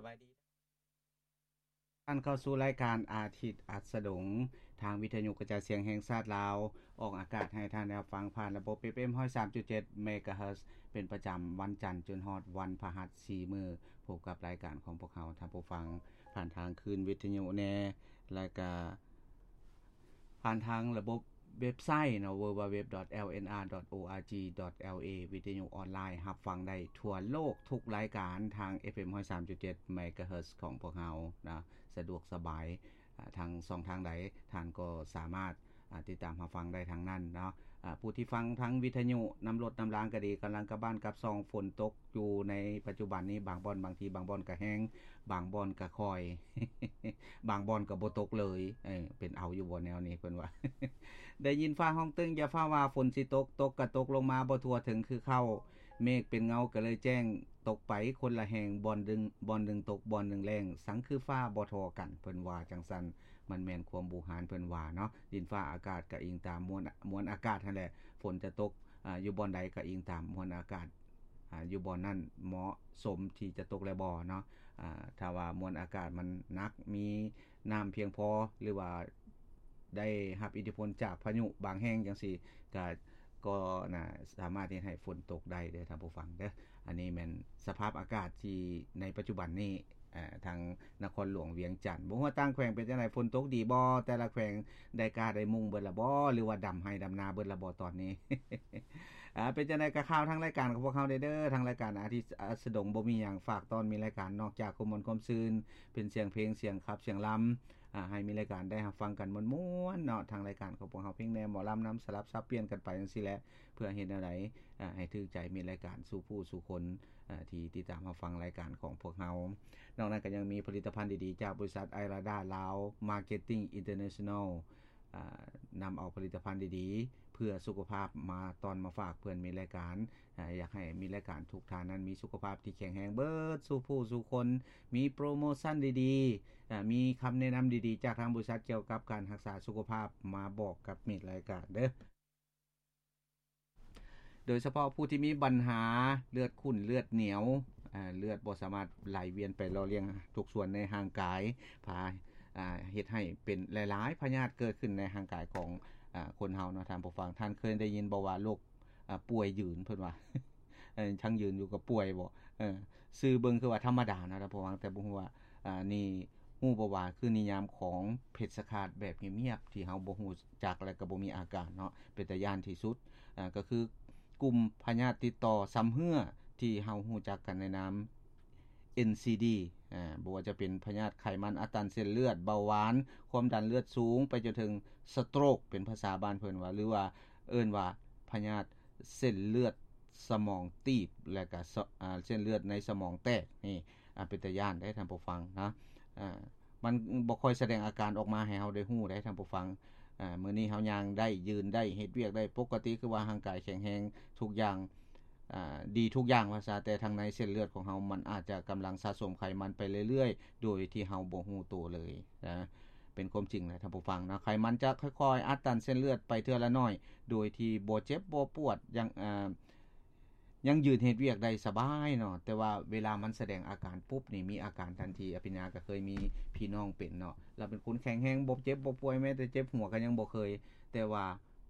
ສະບາຍດີ ທ່ານເຂົ້າສູ່ລາຍການອາທິດອັດສະດົງ ທາງວິທະຍຸກະຈາຍສຽງແຫ່ງຊາດລາວ ອອກອາກາດໃຫ້ທ່ານໄດ້ຮັບຟັງຜ່ານລະບົບ ເອັຟເອັມ ຮ້ອຍສາມຈຸດເຈັດ ເມກາເຮີດ ເປັນປະຈຳວັນຈັນຈົນຮອດວັນພະຫັດ ສີ່ມື້ ພົບກັບລາຍການຂອງພວກເຮົາ ທ່ານຜູ້ຟັງ ຜ່ານທາງຄື້ນວິທະຍຸແດ່ ແລະກະ ຜ່ານທາງລະບົບເວັບໄຊເນາະ www.lnr.org.la ວິທະຍຸອອນລາຍ ຮັບຟັງໄດ້ທົ່ວໂລກທຸກລາຍການທາງ ເອັຟເອັມ ຮ້ອຍສາມຈຸດເຈັດ ເມກາເຮີດ ຂອງພວກເຮົານະ ສະດວກສະບາຍ ອາ ທາງຊ່ອງທາງໃດ ທ່ານກໍສາມາດ ອາ ຕິດຕາມຮັບຟັງໄດ້ທາງນັ້ນເນາະ. ອາ ຜູ້ທີ່ຟັງທາງວິທະຍຸນຳລົດນຳລາງກໍດີ ກຳລັງກັບບ້ານກັບຊ່ອງ ຝົນຕົກຢູ່ໃນປັດຈຸບັນນີ້ ບາງບ່ອນ ບາງທີບາງບ່ອນກໍແຮງ ບາງບ່ອນກໍຄ່ອຍ ບາງບ່ອນກໍບໍ່ຕົກເລີຍ ເອີ ເປັນເອົາຢູ່ບໍ່ແນວນີ້ ເພິ່ນວ່າ ໄດ້ຍິນຟ້າຮ້ອງຕຶ້ງ ຢ່າຟ້າວວ່າຝົນຊິຕົກ ຕົກກໍຕົກລົງມາບໍ່ທົ່ວເຖິງຄືເຄົ້າ ເມກເປັນເງົາກໍເລີຍແຈ້ງ ຕົກໄປຄົນລະແຫ່ງ ບ່ອນໜຶ່ງ ບ່ອນໜຶ່ງຕົກ ບ່ອນໜຶ່ງແລ້ງ ສັງຄືຟ້າບໍ່ທໍ່ກັນ ເພິ່ນວ່າຈັ່ງຊັ້ນ ມັນແມ່ນຄວາມບູຮານເພິ່ນວ່າເນາະ ດິນຟ້າອາກາດກໍອີງຕາມມວນ ມວນອາກາດຫັ້ນແຫຼະ ຝົນຈະຕົກ ອາ ຢູ່ບ່ອນໃດກໍອີງຕາມມວນອາກາດ ອາ ຢູ່ບ່ອນນັ້ນເໝາະສົມທີ່ຈະຕົກແລະບໍ່ເນາະ ອາ ຖ້າວ່າມວນອາກາດມັນໜັກ ມີນ້ຳພຽງພໍ ຫຼືວ່າໄດ້ຮັບອິດທິພົນຈາກພາຍຸບາງແຫ່ງຈັ່ງຊີ້ ກະ ກໍໜ້າສາມາດເຮັດໃຫ້ຝົນຕົກໄດ້ເດີທ່ານຜູ້ຟັງເດີ. ອັນນີ້ແມ່ນສະພາບອາກາດທີ່ໃນປັດຈຸບັນນີ້ ເອີ ທາງນະຄອນຫຼວງວຽງຈັນ ບໍ່ຮູ້ວ່າຕ່າງແຂວງເປັນຈັ່ງໃດ ຝົນຕົກດີບໍ່ ແຕ່ລະແຂວງໄດ້ກ້າໄດ້ມຸງເບິດລະບໍ່ ຫຼືວ່າດຳໄຮ່ດຳນາເບິດລະບໍ່ຕອນນີ້? ອາ ເປັນຈັ່ງໃດກໍຂ່າວທາງລາຍການຂອງພວກເຮົາເດີ ທາງລາຍການອາທິດສະດົງບໍ່ມີຫຍັງ ຝາກຕ້ອນມີລາຍການນອກຈາກຄວາມມ່ວນຄວາມຊື່ນ ເປັນສຽງເພງສຽງຂັບສຽງລຳ ອາ ໃຫ້ມີລາຍການໄດ້ຮັບຟັງກັນມ່ວນໆເນາະ ທາງລາຍການຂອງພວກເຮົາເພງແດ່ໝໍລຳນຳ ສະຫຼັບສັບປ່ຽນກັນໄປຈັ່ງຊີ້ແຫຼະ ເພື່ອເຮັດແນວໃດ ອາ ໃຫ້ຖືກໃຈມິດລາຍການສູ່ຜູ້ສູ່ຄົນ ອາ ທີ່ຕິດຕາມຮັບຟັງລາຍການຂອງພວກເຮົາ. ນອກນັ້ນກໍຍັງມີຜະລິດຕະພັນດີໆຈາກບໍລິສັດໄອລາດາລາວ ມາເກັດຕິງ ອິນເຕີເນຊັນແນລ ອາ ນຳເອົາຜະລິດຕະພັນດີໆເພື່ອສຸຂະພາບມາຕ້ອນມາຝາກເພື່ອນມິດລາຍການ ອາ ຢາກໃຫ້ມິດລາຍການທຸກທ່ານນັ້ນມີສຸຂະພາບທີ່ແຂງແຮງເບິດສູ່ຜູ້ສູ່ຄົນ ມີໂປຣໂມຊັນດີໆ ອາ ມີຄຳແນະນຳດີໆຈາກທາງບໍລິສັດກ່ຽວກັບການຮັກສາສຸຂະພາບມາບອກກັບມິດລາຍການເດີ. ໂດຍສະເພາະຜູ້ທີ່ມີບັນຫາເລືອດຂຸ້ນເລືອດໜຽວ ອາ ເລືອດບໍ່ສາມາດໄຫຼວຽນໄປຫຼໍ່ລ້ຽງທຸກສ່ວນໃນຮ່າງກາຍ ພາ ອາ ເຮັດໃຫ້ເປັນຫຼາຍໆພະຍາດເກີດຂຶ້ນໃນຮ່າງກາຍຂອງ ອາ ຄົນເຮົາເນາະທ່ານຜູ້ຟັງ. ທ່ານເຄີຍໄດ້ຍິນບໍ່ວ່າໂລກ ອາ ປ່ວຍຍືນ ເພິ່ນວ່າ ເອີ ທັງຢືນຢູ່ກໍປ່ວຍບໍ ເອີ ຊື່ເບິ່ງຄືວ່າທຳມະດາເນາະທ່ານຜູ້ຟັງ ແຕ່ບໍ່ຮູ້ວ່າ ອາ ນີ້ຮູ້ບໍ່ວ່າຄືນິຍາມຂອງເພັດສະຄາດແບບງຽບໆ ທີ່ເຮົາບໍ່ຮູ້ຈັກ ແລະກໍບໍ່ມີອາການເນາະ ເປັນຕາຢ້ານທີ່ສຸດ ອາ ກໍຄືກຸ່ມພະຍາດຕິດຕໍ່ຊຳເຮື້ອ ທີ່ເຮົາຮູ້ຈັກກັນໃນນາມ ເອັນຊີດີ ອາ ບໍ່ວ່າຈະເປັນພະຍາດໄຂມັນອັດຕັນເສັ້ນເລືອດ ເບົາຫວານ ຄວາມດັນເລືອດສູງ ໄປຈົນເຖິງສະໂຕຣກ ເປັນພາສາບ້ານເພິ່ນວ່າ ຫຼືວ່າເອີ້ນວ່າພະຍາດເສັ້ນເລືອດສະໝອງຕີບ ແລະກະ ສະ ອາ ເສັ້ນເລືອດໃນສະໝອງແຕກ ນີ້ ອາ ເປັນຕາຢ້ານເດ້ທ່ານຜູ້ຟັງນະ ອາ ມັນບໍ່ຄ່ອຍສະແດງອາການອອກມາໃຫ້ເຮົາໄດ້ຮູ້ເດ້ທ່ານຜູ້ຟັງ ອາ ມື້ນີ້ເຮົາຍ່າງໄດ້ ຢືນໄດ້ ເຮັດວຽກໄດ້ປົກກະຕິ ຄືວ່າຮ່າງກາຍແຂງແຮງທຸກຢ່າງ ອາ ດີທຸກຢ່າງວ່າຊະ ແຕ່ທາງໃນເສັ້ນເລືອດຂອງເຮົາ ມັນອາດຈະກຳລັງສະສົມໄຂມັນໄປເລື້ອຍໆ ໂດຍທີ່ເຮົາບໍ່ຮູ້ໂຕເລີຍນະ ເປັນຄວາມຈິງນະທ່ານຜູ້ຟັງເນາະ ໄຂມັນຈະຄ່ອຍໆອັດຕັນເສັ້ນເລືອດໄປເທື່ອລະໜ້ອຍ ໂດຍທີ່ບໍ່ເຈັບບໍ່ປວດ ຍັງ ອາ ຍັງຢືນເຮັດວຽກໄດ້ສະບາຍເນາະ ແຕ່ວ່າເວລາມັນສະແດງອາການປຸບນີ້ ມີອາການທັນທີ ອະພິນຍາກໍເຄີຍມີພີ່ນ້ອງເປັນເນາະ ລາວເປັນຄົນແຂງແຮງ ບໍ່ເຈັບບໍ່ປ່ວຍ ແມ້ແຕ່ເຈັບຫົວກໍຍັງບໍ່ເຄີຍ ແຕ່ວ່າ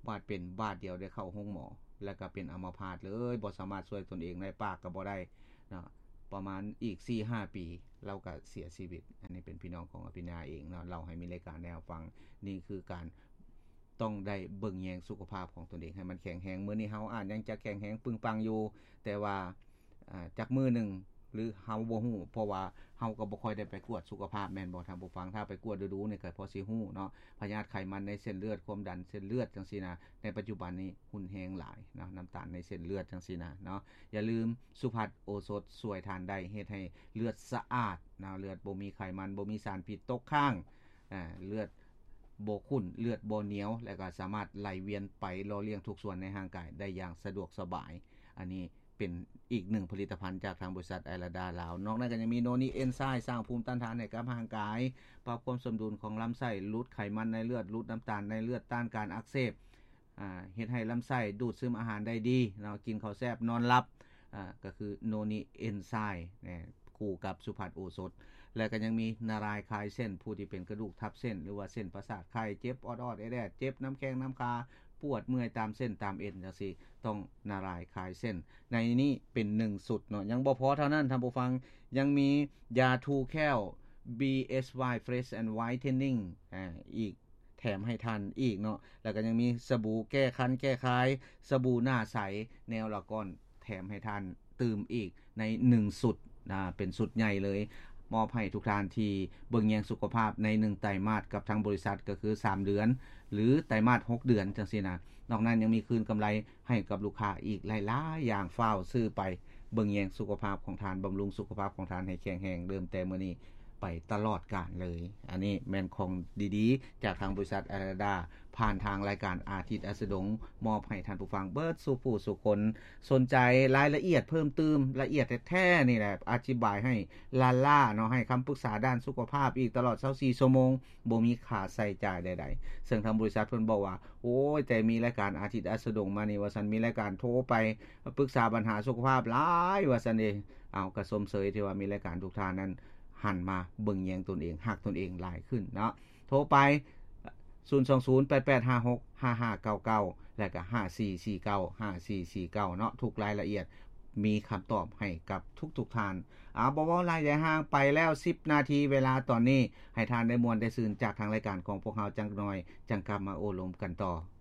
ບາດເປັນບາດດຽວໄດ້ເຂົ້າໂຮງໝໍ ແລ້ວກໍເປັນອາມະພາດເລີຍ ບໍ່ສາມາດຊ່ວຍຕົນເອງໄດ້ ປາກກໍບໍ່ໄດ້ເນາະ ປະມານອີກສີ່ຫ້າປີ ລາວກໍເສຍຊີວິດ. ອັນນີ້ເປັນພີ່ນ້ອງຂອງອະພິນຍາເອງເນາະ ເລົ່າໃຫ້ມິດລາຍການໄດ້ຮັບຟັງ ນີ້ຄືການ ຕ້ອງໄດ້ເບິ່ງແຍງສຸຂະພາບຂອງຕົນເອງໃຫ້ມັນແຂງແຮງ ມື້ນີ້ເຮົາອາດຍັງຈະແຂງແຮງປຶງປັງຢູ່ ແຕ່ວ່າ ອາ ຈັກມື້ໜຶ່ງ ຫຼືເຮົາບໍ່ຮູ້ ເພາະວ່າເຮົາກໍບໍ່ຄ່ອຍໄດ້ໄປກວດສຸຂະພາບແມ່ນບໍ່ທ່ານຜູ້ຟັງ ຖ້າໄປກວດດູໆນີ້ກໍພໍຊິຮູ້ເນາະ ພະຍາດໄຂມັນໃນເສັ້ນເລືອດ ຄວາມດັນເສັ້ນເລືອດຈັ່ງຊີ້ນະ ໃນປັດຈຸບັນນີ້ຮຸນແຮງຫຼາຍເນາະ ນ້ຳຕານໃນເສັ້ນເລືອດຈັ່ງຊີ້ນະເນາະ ຢ່າລືມສຸພັດໂອສົດຊ່ວຍທ່ານໄດ້ ເຮັດໃຫ້ເລືອດສະອາດເນາະ ເລືອດບໍ່ມີໄຂມັນ ບໍ່ມີສານພິດຕົກຄ້າງ ອາ ເລືອດບໍ່ຂຸ້ນ ເລືອດບໍ່ໜຽວ ແລະກໍສາມາດໄຫຼວຽນໄປຫຼໍ່ລ້ຽງທຸກສ່ວນໃນຮ່າງກາຍໄດ້ຢ່າງສະດວກສະບາຍ. ອັນນີ້ເປັນອີກໜຶ່ງຜະລິດຕະພັນຈາກທາງບໍລິສັດໄອລາດາລາວ. ນອກນັ້ນກໍຍັງມີໂນນິເອັນໄຊ ສ້າງພູມຕ້ານທານໃຫ້ກັບຮ່າງກາຍ, ປັບຄວາມສົມດຸນຂອງລຳໄສ້, ຫຼຸດໄຂມັນໃນເລືອດ, ຫຼຸດນ້ຳຕານໃນເລືອດ, ຕ້ານການອັກເສບ, ອາ ເຮັດໃຫ້ລຳໄສ້ດູດຊຶມອາຫານໄດ້ດີເນາະ, ກິນເຂົ້າແຊບ, ນອນຫຼັບ, ອາ ກໍຄືໂນນິເອັນໄຊ ແນະ. ຄູ່ກັບສຸພັດໂອສົດ ແລະກໍຍັງມີນາລາຍຄາຍເສັ້ນ ຜູ້ທີ່ເປັນກະດູກທັບເສັ້ນ ຫຼືວ່າເສັ້ນປະສາດໄຂ່ ເຈັບອອດໆແອດໆ ເຈັບນຳແຂ້ງນຳຂາ ປວດເມື່ອຍຕາມເສັ້ນຕາມເອັນຈັ່ງຊີ້ ຕ້ອງນາລາຍຄາຍເສັ້ນ. ໃນນີ້ເປັນໜຶ່ງຊຸດເນາະ. ຍັງບໍ່ພໍເທົ່ານັ້ນທ່ານຜູ້ຟັງ ຍັງມີຢາຖູແຂ້ວ BSY Fresh and Whitening ອາ ອີກ ແຖມໃຫ້ທ່ານອີກເນາະ. ແລ້ວກໍຍັງມີສະບູແກ້ຄັນແກ້ຄາຍ ສະບູໜ້າໃສ ແນວລະກ້ອນ ແຖມໃຫ້ທ່ານຕື່ມອີກໃນໜຶ່ງຊຸດ ອາ ເປັນຊຸດໃຫຍ່ເລີຍ ມອບໃຫ້ທຸກທ່ານທີ່ເບິ່ງແຍງສຸຂະພາບໃນໜຶ່ງໄຕມາດກັບທາງບໍລິສັດ ກໍຄືສາມເດືອນ ຫຼື ໄຕມາດຫົກເດືອນຈັ່ງຊີ້ນະ. ນອກນັ້ນຍັງມີຄືນກຳໄລໃຫ້ກັບລູກຄ້າອີກຫຼາຍໆຢ່າງ ຟ້າວຊື້ໄປເບິ່ງແຍງສຸຂະພາບຂອງທ່ານ ບຳລຸງສຸຂະພາບຂອງທ່ານໃຫ້ແຂງແຮງ ເລີ່ມແຕ່ມື້ນີ້ ໄປຕະຫຼອດການເລີຍ. ອັນນີ້ແມ່ນຂອງດີໆ ຈາກທາງບໍລິສັດອາລາດາ ຜ່ານທາງລາຍການອາທິດອັສດງ ມອບໃຫ້ທ່ານຜູ້ຟັງເບິດສູ່ຜູ້ສູ່ຄົນ. ສົນໃຈລາຍລະອຽດເພີ່ມຕື່ມ ລະອຽດແທ້ໆນີ້ແຫຼະ ອະທິບາຍໃຫ້ລ້າໆເນາະ ໃຫ້ຄຳປຶກສາດ້ານສຸຂະພາບອີກຕະຫຼອດຊາວສີ່ຊົ່ວໂມງ ບໍ່ມີຄ່າໃຊ້ຈ່າຍໃດໆ. ເຊິ່ງທາງບໍລິສັດເພິ່ນບອກວ່າ ໂອ້ຍ ແຕ່ມີລາຍການອາທິດອັສດງມານີ້ວ່າຊັ້ນ ມີລາຍການໂທໄປປຶກສາບັນຫາສຸຂະພາບຫຼາຍວ່າຊັ້ນເດ. ເອົາ ກໍຊົມເຊີຍທີ່ວ່າມີລາຍການທຸກທ່ານນັ້ນ ຫັນມາເບິ່ງແຍງຕົນເອງ ຮັກຕົນເອງຫຼາຍຂຶ້ນເນາະ. ໂທໄປ ສູນສອງສູນ ແປດແປດຫ້າຫົກ ຫ້າຫ້າເກົ້າເກົ້າ ແລະກະ ຫ້າສີ່ສີ່ເກົ້າ ຫ້າສີ່ສີ່ເກົ້າ ເນາະ. ທຸກລາຍລະອຽດມີຄຳຕອບໃຫ້ກັບທຸກໆທ່ານ. ເອົາ ບໍ່ເວົ້າຫຼາຍຢາຍຫ່າງ ໄປແລ້ວສິບນາທີ ເວລາຕອນນີ້ ໃຫ້ທ່ານໄດ້ມ່ວນໄດ້ຊື່ນຈາກທາງລາຍການຂອງພວກເຮົາຈັກໜ່ອຍ ຈັ່ງກັບມາໂອ້ລົມກັນຕໍ່.